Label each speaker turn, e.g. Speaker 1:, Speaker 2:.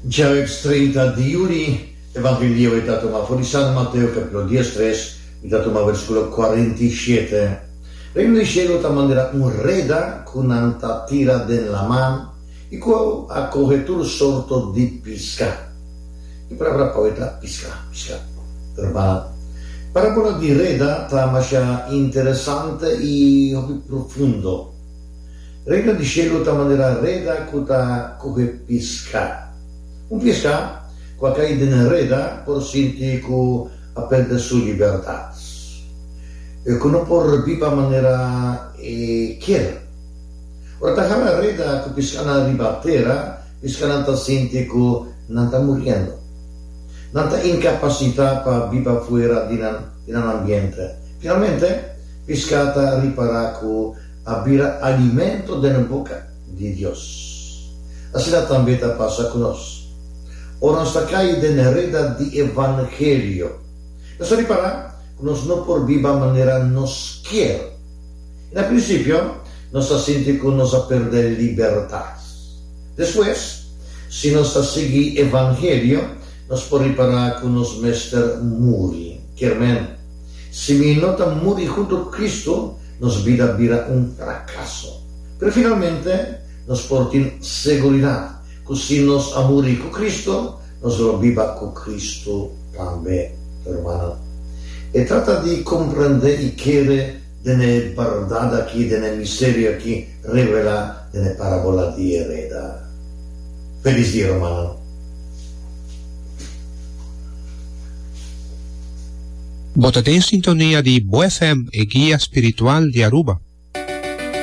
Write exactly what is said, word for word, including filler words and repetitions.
Speaker 1: Djaweps trinta di yüli, Evangelio ta tuma for di San Mateo kapítulo diestres, i ta tuma versíkulo kuarenta i shete. Reino di shelu ta manera un reda ku nan ta tira den laman i ku a kohe tur sorto di piská. E palabra pa ta piská, piská. Ruman, parábola di reda ta masha interesante i hopi profundo. Reino di shelu ta manera reda ku ta kohe piská. Un piská ku a kai den reda por sinti ku a pèrdè su libertat. Ku no por biba manera e kier. Ora ta hala reda ku piskanan riba tera, piskanan ta sinti ku nan ta muriendo. Nan ta inkapasitá pa biba fuera di nan, di nan ambiente. Finalmente, piská ta ripará ku a bira alimento den boka di Dios. Asina tambe ta pasa ku nos. Ora nos ta kai den reda di Evangelio, nos ta ripará ku nos no por biba manera nos kier. I na prinsipio, nos ta sinti ku nos a pèrdè libertat. Despues, si nos ta sigui Evangelio, nos por ripará ku nos mester muri. Kier men, si mi no ta muri huntu ku Kristu, nos bida a bira un frakaso. Pero finalmente, nos por tin seguridat ku si nos a muri ku Kristu, nos lo biba ku Kristu tambe. Rumannan, e trata di komprendé i kere den e bèrdat aki, den e misterio aki revelá den e parábola di e reda. Felis dia, rumannan.
Speaker 2: Bo ta den sintonia di Bo F M, e guia spiritual di Aruba.